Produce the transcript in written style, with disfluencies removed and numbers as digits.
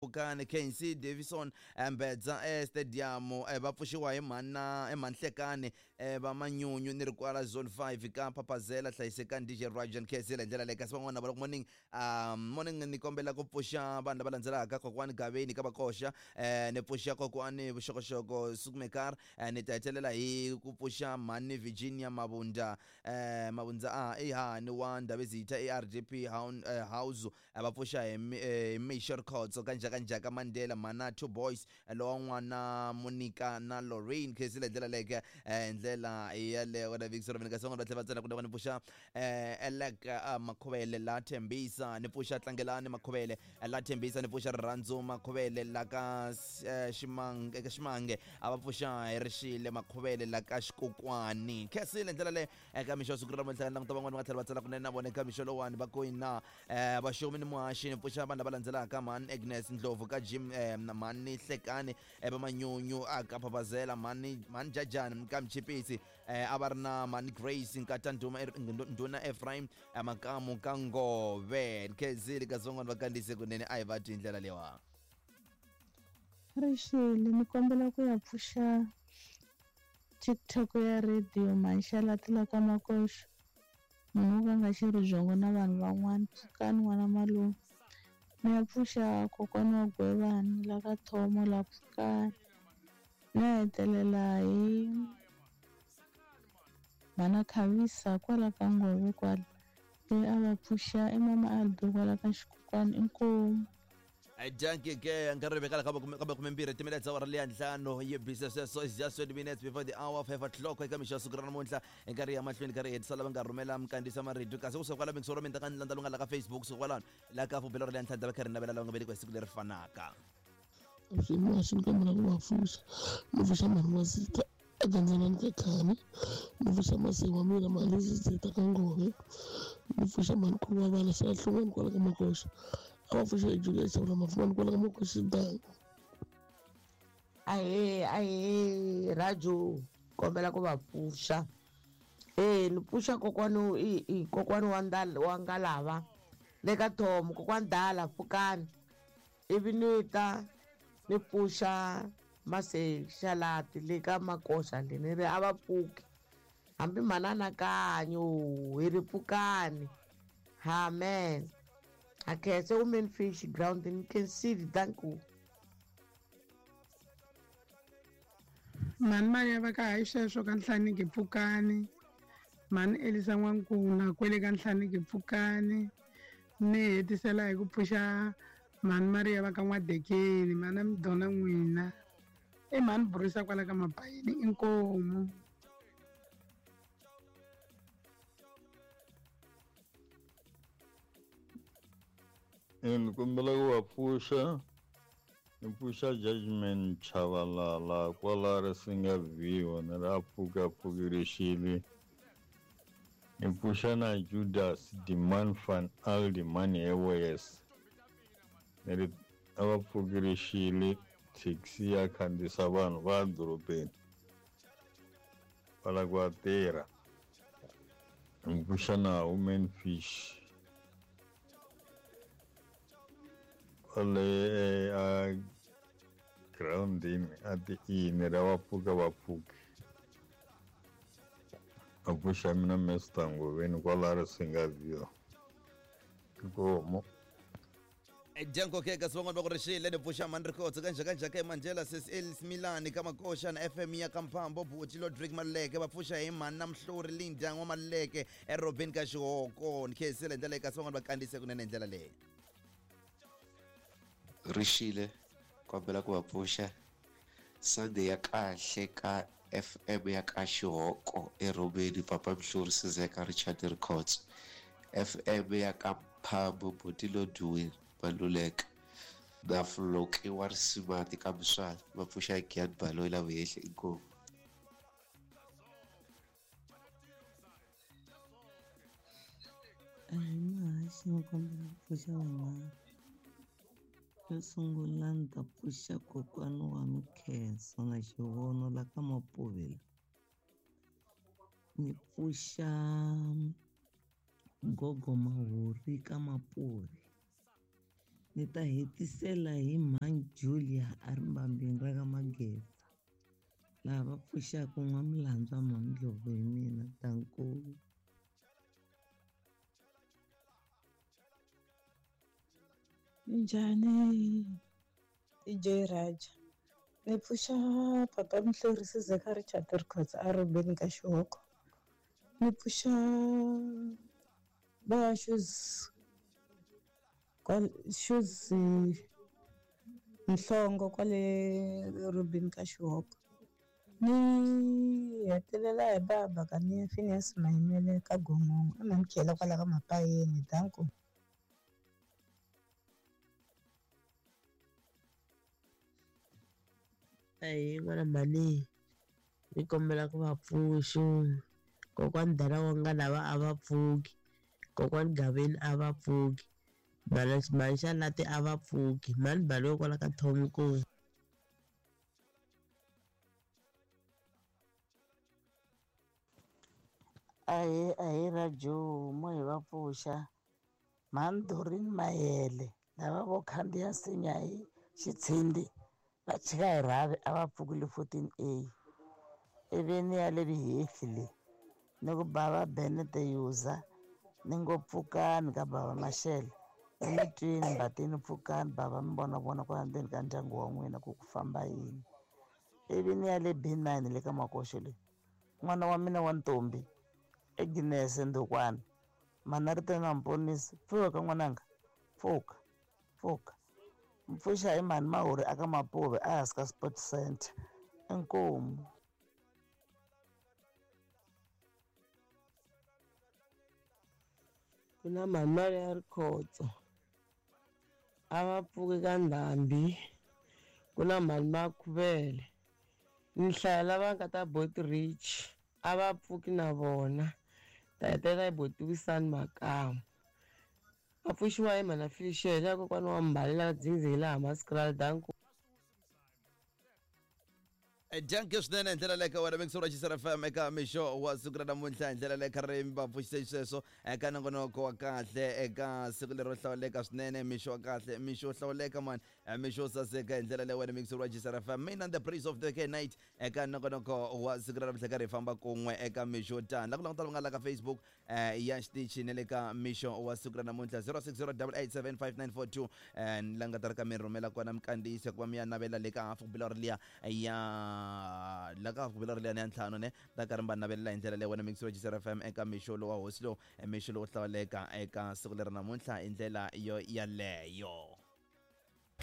Pfukani KNC Davison Mbedza e-stadium va pfuxiwa hi mhana emanhlekani va manyunyu ni ri kwala zone 5 ka Phaphazela hlayisekani DJ Rajan Khesile hi ndlela leyi kasi van'wana va morning morning ni kombela ku pfuxa vanhu lava landzelaka kokwani Gaveni ka Vakoxa ni pfuxa kokwani Vuxokoxoko Sukmekar ni ta hetelela hi ku pfuxa mhani Virginia Mabunda Mabundza a i hani wa Ndhavezitha ARDP House va pfuxa hi Mixo Rikhotso ka Njhakanjhaka Mandela Mana Two Boys lowa n'wana Monica na Lorraine Khensile hi ndlela leke hi ndlela yaleyo na Vixi Robin kasi van'wana va tlhela va tsala ku ni pfuxa Elek Makhuvele la Thembisa ni pfuxa Tlangelani Makhuvele la Thembisa ni pfuxa Rirhandzu Makhuvele la ka Ximange eka Ximange a va pfuxa hi Rixile Makhuvele la ka Xikokwani Khensile hi ndlela leyo eka mixo siku ra namuntlha languta van'wana va tlhela va tsala kunene na vona eka mixo lowani va ku na vaxomi ni muhaxi ni pfuxa vanhu lava landzelaka mhani Agnes Ndlovu ka Jim mhani Hlekani va Manyunyu a ka Phaphazela mhani mhani Jajani ka Mchipisi a va ri na mhani Grace Nkata Nduma Ndhuna Ephraim Makamu ka Ngove Khezile kasi van'wana va kandziyise kunene a hi va twi hi ndlela leyiwa. Rixile ni kombela ku ya pfuxa TikTok ya radio Mhanxalati la ka Makoxo munhu wo ka nga xerhi byongo na vanhu van'wana pfukani n'wana malume ni ya pfuxa kokwana wa Gwevani la ka Thomo la pfukani ni ya hetelela hi mhana Khavisa kwala ka Ngove kwala loyi a va pfuxa i mama Albi kwala ka Xikokwani inkomu. Dankie ke nkarhi vekala ka makumembirhi timinetse awara leya ntlhanu yi bise sweswo is just 20 minutes before the hour 5 o'clock eka mixo ya siku ra namuntlha hi nkarhi ya mahlweni karhi hetisa lava nga rhumela minkandziyiso ya marito kasi kusuka kwala mingisoro mi ta ka ni landza lowu nga la ka Facebook kusuka kwalano la ka fubelo ra leya ntlhanu ta va kha ri navela lava nga velekiwa hi siku leri fanaka. Avuxeni ni kombela ku va pfuxa ni pfuxa mhani wa Zita eGandzelani ka Khani ni pfuxa masi wa mina mhani Zita ka Ngove ni pfuxa mhani Khuwa vana sala Hlongwane kwala ka Makoxa a va pfuxa Juliet Shavula Mafumani kwala ka Makoxa Dango. Ahee ahee Raju kombela ku va pfuxa e ni pfuxa kokwani i kokwani wa ndala wa Ngalava le ka Thomo kokwani Dala pfukani ivi ni ta ni pfuxa Masexalati le ka Makoxa le ni ri a va pfuki hambi mhana anakanyo hi ri pfukani amen a khense women fish ground ni khensile thank you. Mhani Mariya va ka hayi sweswo ka Nhlaniki pfukani mhani Elisa N'wankuna kwele ka Nhlaniki pfukani ni hetisela hi ku pfuxa mhani Mariya va ka N'wadekeni mhana Midona n'wina i mhani Burisa kwala ka Mabayini inkomu. Ni kombela ku va pfuxa ni pfuxa Judgment Chavalala kwala Risinga View ni ri a pfuka pfukirixile ni pfuxa na Judas Demand van Aldeman Airways ni ri a va pfukirixile taxi ya khandziyisa vanhu va ya dorobeni va lava ku ya tirha ni pfuxa na Women Fish kwale a groundini a ti-ini ra va pfuka va pfuki a pfuxa mina Mister Ngoveni kwala Risinga View inkomu. Dyanko ke kasi van'wana va ku rixile ni pfuxa mhani Rikhotso ka Njhakanjhaka eMandela sis Els Milani ka Makoxa na FM ya ka Mphambo Buti Lodrick Maluleke va pfuxa hi mhani na Mhluri Linda N'wa Maluleke eRobeni ka Xihoko ni khensile hi ndlela leyi kasi van'wana va kandziyise kunene hi ndlela leyi. Rixile kombela ku va pfuxa Sunday ya kahle ka FM ya ka Xihoko eRhomeni Papa Mhluri Sizeka Richard Rikhotso FM ya ka Mphambo Buti Lodwin Maluleka na Floki wa Risimati ka Muswana va pfuxa Giyani Baloyi la Vuhehli inkomu. Ahee muhaxi ni kombela ku pfuxa vanghana xo sungula ni ta pfuxa kokwana wa Mikhenso na xivono la ka Mapovela ni pfuxa gogo Mahori ka Mapuve. Ni ta hetisela hi mhani Julia a ri mbambeni ra ka Mageza. Laha va pfuxaka n'wamilandzu wa Mhani hi mina danko. Minjhani DJ Raja ni pfuxa papa Mhlori Sizeka Richard Records a Robeni ka Xihoko ni pfuxa va shoes shoes Nhlongo kwale Robeni ka Xihoko ni hetelela hi baba ka ni Phineas Mayimele ka Gongongo i Mamkhela kwala ka Mapayeni danko. Ahee n'wana mhani ni kombela ku va pfuxa kokwani dala wa nga lava a va pfuki kokwani Gaveni a va pfuki mhani Xalati a va pfuki mhani Baloyi kwala ka Thomkulu. Ahee ahee Rajo mo hi va pfuxa mhani Doreen Mayele lava vo khandziya nsinya hi xitshindi va chika hi rhavi a va pfukile 14 A ivi ni ya le Vihehli le ni ku bava Benete Yuza ni ngo pfukani ka bava Mashele emitwini mbatini pfukani bava mi vona vona kwala ndzeni ka ndyangu wa n'wina ku ku famba yini ivi ni ya le B9 le ka Makoxo le n'wana wa mina wa ntombi Agnes Ndukwana mana ri na Mponisi pfuka n'wananga pfuka pfuka mpfuxa hi mhani Mahuri aka Mapuve ehansi ka Sport Center inkomu. Ku na mhani ya Rikhotso a va pfuki ka ndhambi ku na mhani Makhuvele ni hlaya lava nga ta Bot Rich a va pfuki na vona ta hetelela hi Botiwisani Makamu va pfuxiwa hi mhana Felicia ya kokwana wa Mbali la Dzindzini laha Maskraal danko. Danke swinene hi ndlela leyo ka wena mixo ra Xisera FM eka mixo wa siku ra namuntlha hi ndlela leyo kha ri va pfuxise xisweswo eka nongonoko wa kahle eka siku lero hlawuleka swinene mixo wa kahle mixo wo hlawuleka mani mixo wo saseka hi ndlela leyo wena mixo wa Xisera FM mina the praise of the night eka nongonoko wa siku ra namuntlha karhi hi famba kun'we eka mixo tani la ku languta va nga la ka Facebook ya xitichi na le ka mixo wa siku ra namuntlha 0608875942 la nga ta ri ka mi rhumela kona mikandziyiso ku va mi ya navela le ka hafu ku bila ri liya ya la ka hafu ku bila ri liya ni ya ntlhanu ne ta karhi mi va navelela hi ndlela leyi wena mixo wa Xisera FM eka mixo lowa hosi lowu mixo lowo hlawuleka eka siku leri namuntlha hi ndlela yo yaleyo.